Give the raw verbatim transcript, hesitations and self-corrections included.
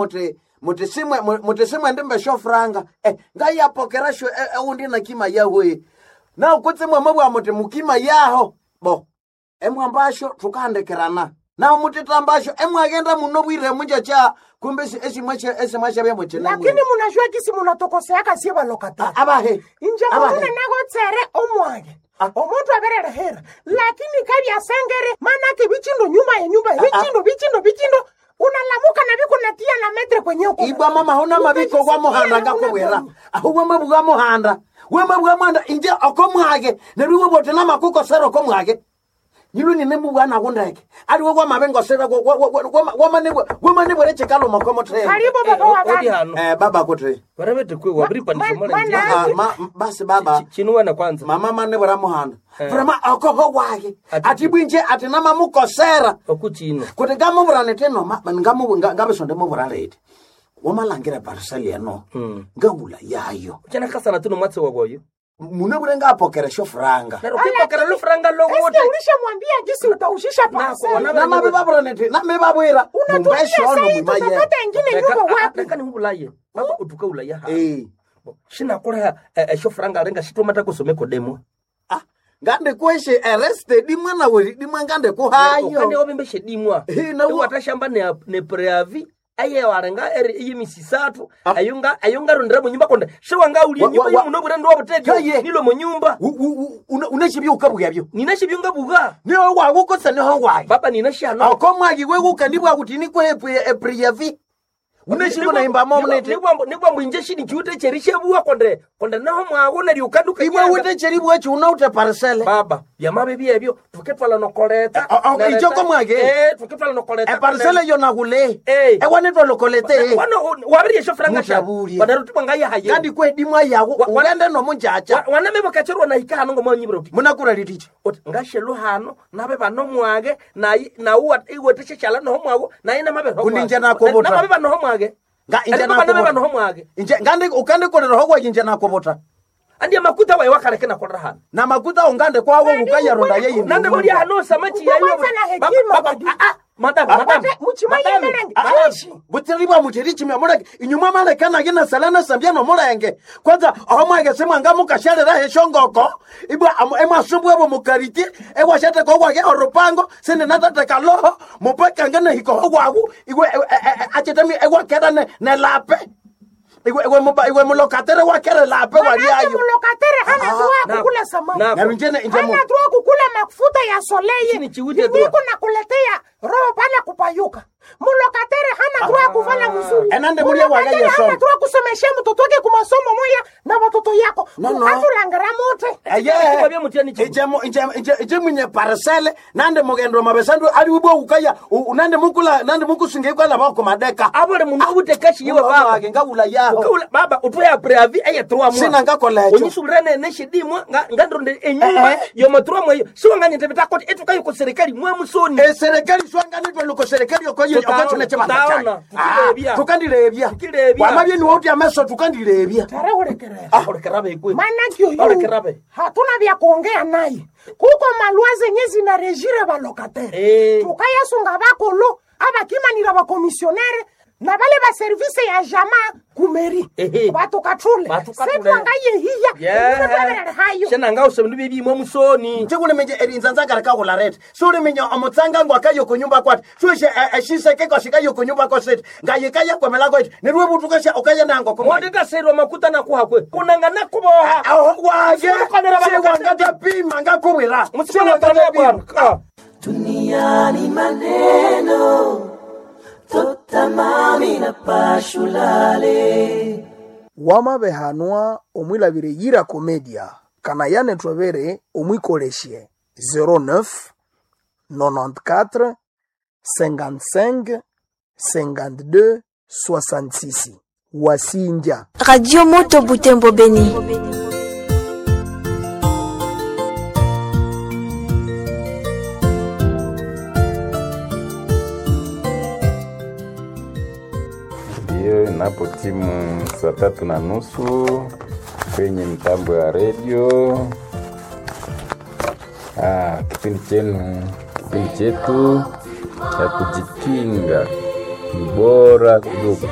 Muti muti simwe muti simwe ndimbe shofranga eh ngayapokera sho ewundi na kima yawe na kutse mwamabwa muti mukima yaho bo emwambasho tukahandikiranana naho mutitambasho emwagenda muno bwire munjacha kumbe esimwe esimwe byamwe Lakini munajua kisi munatokoseaka sie balokatari. Abahe Inje abahe. munune nagotsere omwage. Omuntu abererehera. Lakini kabyasengere manake bichindo nyuma ya nyumba, bichindo bichindo bichindo unalamuka na biko natia na metre kwenye uko. Ibwa mama hona mabiko gwa muhanda ngakubwira aho wamabwa muhanda wamabwa muhanda inje okomwage neryo bote namakukosera okomwage nyilwe nine mubwana kundeke aliwe kwamabengosera wamanebwere chikaluma komotere Karibu baba wa Odi bana. hano eh baba kuti varevete kwe wabiripandisha Ma- mwana ma- njia Ah, ma, basi baba chinuwana kwanza mama manebwera muhanda Eh. vrema okoho wake Ati- ati bwinje ati namamukosera okuchino kuti ngamuvura nitino ngabisonde muvura reti wamalangira pariseli eno ngawula yayo chanakasana tuno mwatsi wakoyo munebwire ngapokera shofuranga naro kwipokera lufuranga Eske lowote ulishamwambia gisi utaushisha parcel? wana- namabe babura niti name babwira Unatuambia mumbeshono sai mwimaye tutapata ingine nyumba wapi? reka nihuvulaye baba utuka ulaya ha Eh. shinakoleha eshofuranga renga shitomata kusomeko demo Ah, ngandikueshe arrested mwana weri dimwe ukane ngandikuhayo wavimbe shedimwa Eh, na wo- watashamba ne ne preavi aye warenga eri iyimisisatu Ah. ayonga ayonga rondera munyumba konde shiwanga ulie Wa- wa- nyumba wa- yomunobwira ndiwa butetyo Kaye. nilo munyumba uneshibyo ninashibyunga buga niho wawukose niho wayi baba ninashihano okomwagi wewuka ndibwa kuti nikwe epriyavi uneshiko naimba momnete nikwambu inje shini chiute cherishebuwa konde konde naho mwago neryo ukanduka imwe wute cheribwa chiunaute parisele baba byamabe byebyo tuketwala nokoleta Eh, oh, oh, icho komwage? eh tuketwala nokoleta eparisele yonakule Eh. ewanetwalokolete wabiriyesho franga Mutabulye. wanaruti ngayahaye ngandikwe dimwa yawo Wa- wa- ugende nomunjacha waname bakacherwa nahika hano ngomanyibira uti munakura liticha uti ngashelu hano nabe bano mwage nayi nawu iwetesheshala noho mwago nayi namabe Kundi nje nakobota. namabe banoho mwage Nga inje Ariko banabe nakobota. banoho mwage Inje ngandi ukandikolera hokwa inje nakobota andi amakuta waye wakareke nakolera hano na makuta ungande kwawo ukayaronda yeyi nande muri hano samachi Uko yayo kwanza na hekima, badi. madam madam Muchima madam, yemerenge. madam. Aishi. butiribwa mutiri chimya muleke inyuma malekanage nasalana sambya nomulenge kwanza aho mwage semwanga mukashalera heshongoko ibwa amu- emwasumbwebo mukariti ewashateka owage orupango sindi natateka loho mupekange nehikoho wagu iwe e- e- e- achetemi ewakera ne- nelape iwe iwe muba- iwe mulokatere wakere lape Manake waliayo mulokatere hana Ah, droit na- kukula samaki. na- Neryo inje ne- inje mu- Hana droit kukula mafuta ya soleye. Chini chiwite droit. Niko nakuletea roho pale kupayuka. Mulokatere hana droit kuvala mzuri. Enande mulia waga Mulokatere yesomo. hana droit kusomesha mtoto wake kumasomo moya na watoto yako. No, no. Atulangara mote. Eye. Kwa mutiyani chibu. Inje mu- inje- inje- inje mwinye parisele nande mugendo mabesandu ali ubwo ukaya u- nande mukula nande mukusinga ikwala bako madeka abole mundu obutekashi yewe baba wake ngawula yaho Ukaula- baba utoya preavi eye trois mois Sina ngakola echo. onyisulira ne neshidimwa nga ngandronde enyumba Eh, eh. yoma trois mois eyo siwanganyete bitakoti etukayo ku serikali mwamusoni eserikali swanganitwe luko serikali okoye Tutaona, okochune chibanda tutaona, chake Ah, tukilebya. tukandilebya Tukilebya. wamabye niwe uti ameso tukandilebya Tare ulekerera. olekerabe ikwe Manake oyu olekerabe hatuna vya kuongea naye. Kuko malwa zenye zinarejire balokatere. Eh. Tukayasunga bakolo abakimanira bakomisionere na bale ba service ya jama kumeri Ehe. batukatule Batukatule. setwangayehiya hayo shenanga usebindu byebyimwa musoni chikuliminje erinzanzakari kawula rete suliminye omutsanga ngwakayo kunyumba kwati sueshe eshiseke kwashikayo kunyumba kwasete ngayikaya kwemela kweti niriwe butukasha ukayenango kumwa mwatetaserwa makuta nakuhakwe kunanga nakuboha waye Simukanira siwangatapima ngakubwira musikonatana bwana Ah. Duniani maneno totamami na pashulale wamabehanwa omwilabire yira komedia kana yanetwabere omwikolesye zero neuf nonante-quatre cinquante-cinq cinquante-deux soixante-six wasinja Radio Moto Butembo Beni. Ndiyo, inapo timu saa tatu na nusu kwenye mitambo ya redio. Ah, kipindi chenu, kipindi chetu cha kujikinga Ni bora kuliko